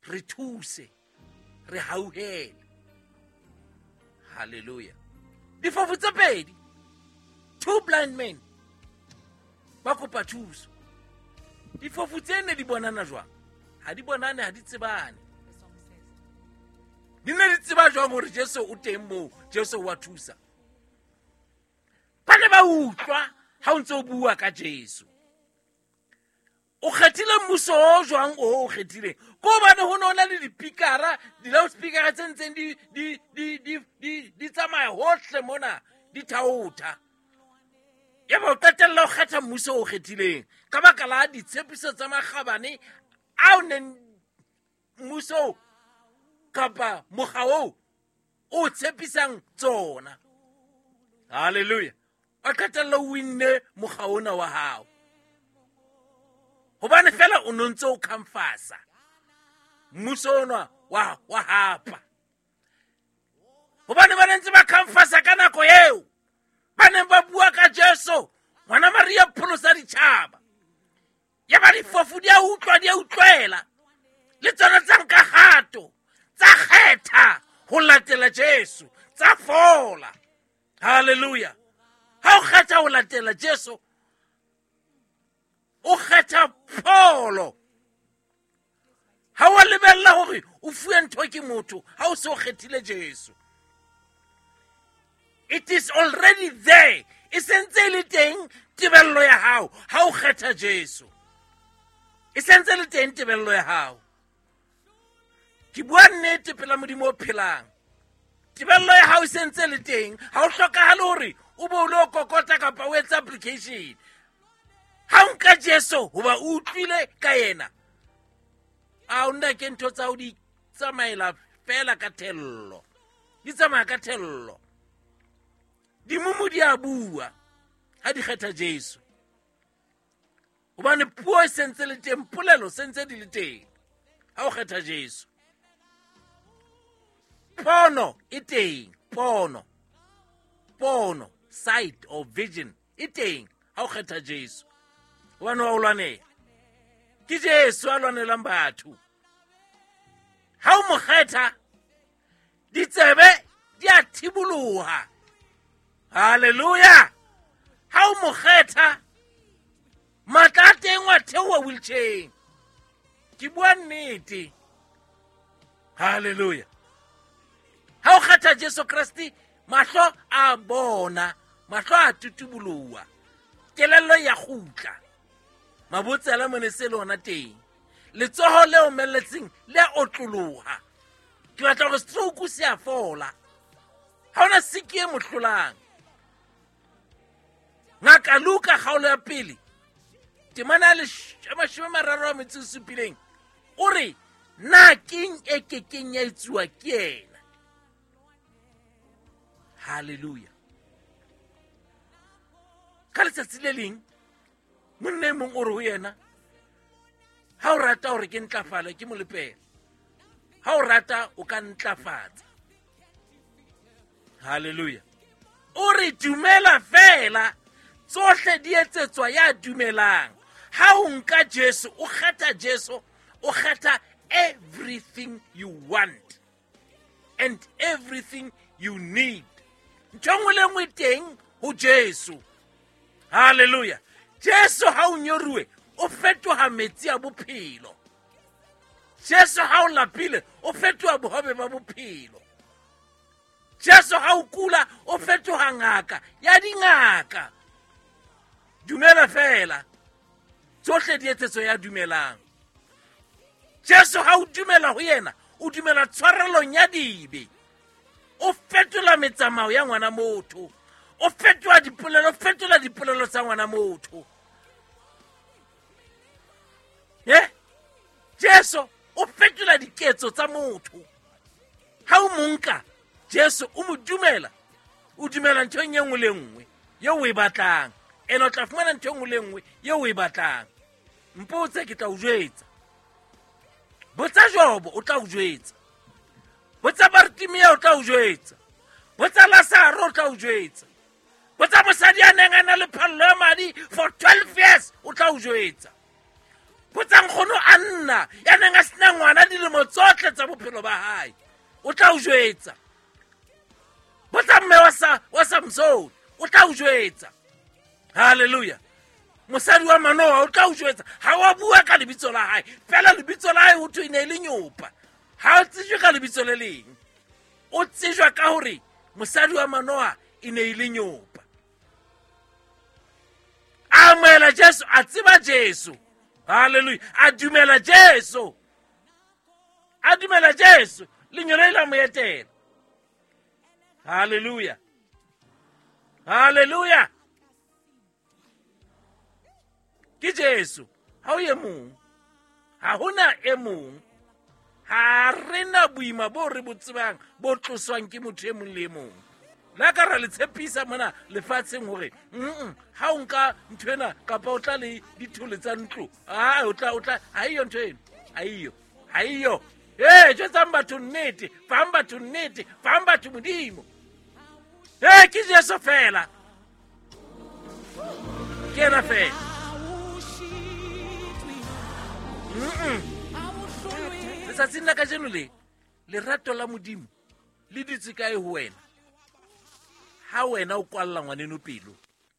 Re thuse, re hauhele. Halleluja. Difofu tse pedi, two blind men, ba kopa thuso. Difofu tse ne di bonana jwang? Ha di bonane, ha di tsebane. Di ne di tseba jwang hore Jesu o teng moo, Jesu wa thusa? Ba ne ba utlwa ha o ntse o bua ka Jesu. O kgethile mmuso o jwang o o kgethileng? Ko hobane ho ne ho na le dipikara, di-loudspeakera tse ntseng di tsamaya hohle mona, di thaotha. Yaba o qetella o kgetha mmuso o kgethileng ka baka la ditshepiso tsa makgabane ao neng mmuso kapa mokga oo o tshepisang tsona. Halleluja. O qetella o winne mokga ona wa hao hobane fela o no ntse o khamfasa mmuso ona wa hapa, hobane ba ne ntse ba khamfasa ka nako eo ba neng ba bua ka Jesu ngwana Maria pholosa ditjhaba. Ya ba difofu di a utlwa, di a utlwela, le tsona tsa nka kgato, tsa kgetha ho latela Jesu, tsa fola. Halleluja. Ha o kgetha ho latela Jesu, o kgetha pholo. Ha wa lebella hore o fuwe ntho ke motho ha o se o kgethile Jesu. It is already there. E sentse e le teng tebello ya hao ha o kgetha Jesu. E sentse le teng tebello ya hao. Ke bua nnete pela Modimo o phelang. Tebello ya hao e sentse le teng. Ha o hlokahale hore o be o lo kokota kapa o etse application. Ha o nka Jesu hoba o utlwile ka yena, a o nna ke ntho tsa ho di tsamaela fela ka thello. Di tsamaya ka thello. Dimumu di a bua ha di kgetha Jesu, hobane puo e sentse le teng, polelo sentse di le teng ha o kgetha Jesu. Pono e teng, pono, pono, sight or vision e teng ha o kgetha Jesu, hobane wa o lwanela. Ke Jesu a lwanelang batho. Ha o mo kgetha, ditsebe di a thiboloha. Halleluja. Ha o mo kgetha, matla a teng wa theoha wheelchair. Ke bua nnete. Halleluja. Ha o kgetha Jesu Kreste, mahlo a bona, mahlo a tutuboloha, kelello ya kgutla, mabotsela mone se le ona teng, letsoho le omelletseng le a otloloha. Ke batla hore stroke se a fola. Ha hona siki e mo hlolang. Ngaka Luka kgaolo ya pele, temana ya 37, o re, na keng e kekeng ya etsuwa ke yena? Halleluja. Ka letsatsi le leng, monna e mong o re ho yena, ha o rata hore ke ntlafale, ke molepele. Ha o rata, o ka ntlafatsa. Halleluja. O re dumela fela, tsohle di etsetswa ya dumelang. Ha o nka Jesu, o kgetha Jesu, o kgetha everything you want and everything you need. Ntho e nngwe le nngwe teng ho Jesu. Halleluja. Jesu ha o nyoruwe, o fetoha metsi a bophelo. Jesu ha o lapile, o fetoha bohobe ba bophelo. Jesu ha o kula, o fetoha ngaka ya dingaka. Dumela fela, tsohle di etsetso ya dumelang. Jesu ha o dumela ho yena, o dumela tshwarelong ya dibe. O fetola metsamao ya ngwana motho. O fetola dipolelo, o fetola dipolelo tsa ngwana motho. Jesu o fetola diketso tsa motho. Ha o mo nka, Jesu o mo dumela, o dumela nthong e nngwe le nngwe eo o e batlang. Ene o tla fumana ntho e nngwe le nngwe eo o e batlang. Mpotse, ke tla o jwetsa. Botsa Jobo, o tla o jwetsa. Botsa Bartimea, o tla o jwetsa. Botsa Lazaro, o tla o jwetsa. Botsa mosadi a neng a na le phallo ya madi for 12 years, o tla o jwetsa. Botsa nkgono a nna ya neng a sena ngwana dilemo tsotlhe tsa bophelo ba hae, o tla o jwetsa. Botsa mme wa Samson, o tla o jwetsa. Halleluja. Mosadi wa Manoa o tla o jwetsa. Ha wa bua ka lebitso la hae fela, lebitso la hae ho thwe e ne e le nyopa, ha o tsejwe ka lebitso le leng, o tsejwa ka hore mosadi wa Manoa e ne e le nyopa. A amohela Jesu, a tseba Jesu. Halleluja. A dumela Jesu, a dumela Jesu, lenyolo la mo etela. Halleluja, halleluja. Ke Jesu, ha o e mong, ha hona e mong. Ha re na boima bo re bo tsebang bo tloswang ke motho e mong le e mong. La ka ra le tshepisa mona lefatsheng hore ha o nka ntho ena kapa o tla le dithole tsa ntlo, a o tla, o tla, ha eyo ntho eno, ha eyo, ha eyo. Ee, jwetsang batho nnete, fang batho nnete, fang batho Modimo. Ee, ke Jesu fela, ke ena fela. Letsatsing la kajeno le lerato la Modimo le dutse kae ho wena? Ha wena o kwalla ngwaneno pelo,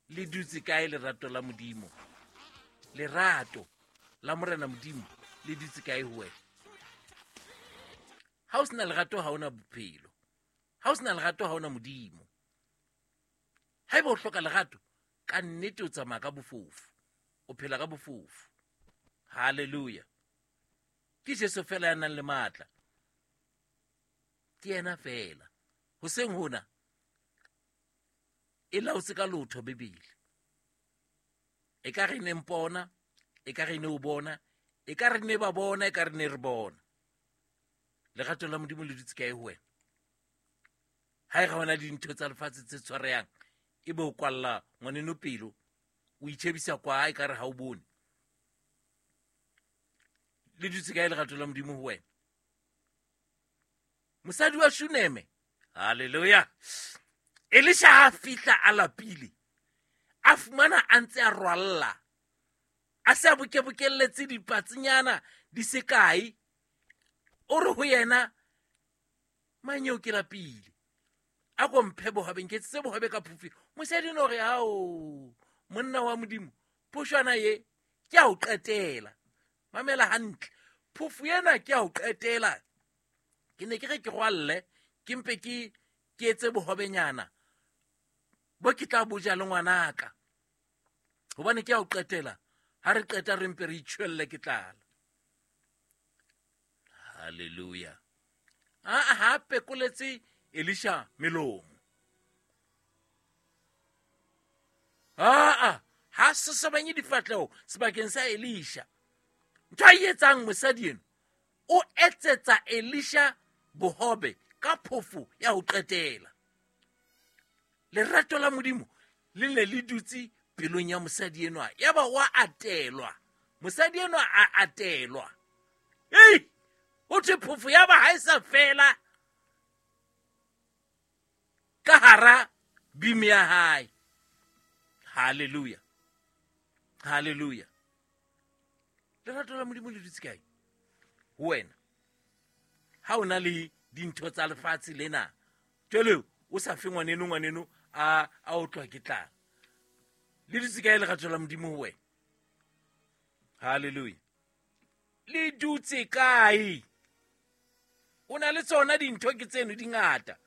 le dutse kae lerato la Modimo? Lerato la Morena Modimo le dutse kae ho wena? Ha o sena lerato, ha ona bophelo. Ha o sena lerato, ha ona Modimo. Haeba o hloka lerato, ka nnete o tsamaya ka bofofu, o phela ka bofofu. Halleluja. Ke Jesu fela ya nang le matla, ke yena fela. Hoseng hona e laotse ka lotho Bibele. E ka re ne mpona, e ka re ne o bona, e ka re ne ba bona, e ka re ne re bona. Lerato la Modimo le dutse kae ho wena? Ha e ga ona dintho tsa lefatshe tse tshwarehang, e be o kwalla ngwaneno pelo, o itjhebisa kwa e ka re ha o bone. Le dutse kae lerato la Modimo ho wena? Mosadi wa Shuneme, halleluja. Elisha ha fihla a lapile, a fumana a ntse a rwalla, a se a bokebokelletse dipatsinyana di se kae. O re ho yena, manyeo ke lapile, a ko mphe bohobe, nketsetse bohobe ka phofu. Mosadi no re, ao monna wa Modimo, phoshwana ye ke a o qetela. Mamela hantle, phofu ena ke a o qetela. Ke ne ke re ke rwalle, ke mpe ke etse bohobenyana bo ke tla boja le ngwanaka, hobane ke a o qetela. Ha re qeta re mpe re itjhwelle ke tlala. Halleluja. A ha pekoletse Elisha melomo. A ha sosobanye difahleho sebakeng sa Elisha. Ntho a e etsang mosadi eno, o etsetsa Elisha bohobe ka phofo ya ho qetela. Lerato la Modimo le ne le dutse pelong ya mosadi enwa, yaba wa atelwa. Mosadi enwa a atelwa. Ei, ho thwe phofo ya ba ha e sa fela ka hara bimi ya hae. Halleluja, halleluja. Lerato la Modimo le dutse kae ho wena? Ha o na le dintho tsa lefatshe lena, jwale o sa fe ngwaneno, ngwaneno a otlwa ke tlala. Le dutse kae lerato la Modimo ho wena? Halleluja. Le dutse kae? O na le tsona dintho ke tseno di ngata,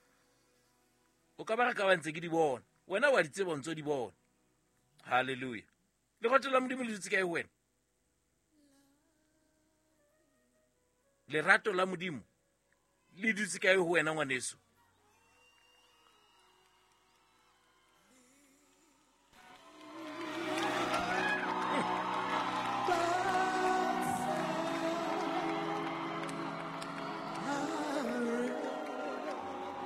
o ka ba re ka ba ntse ke di bona, wena wa di tseba, o ntso di bona. Halleluja. Lerato la Modimo le dutse kae ho wena? Lerato la Modimo le dutse kae ho wena ngwaneso?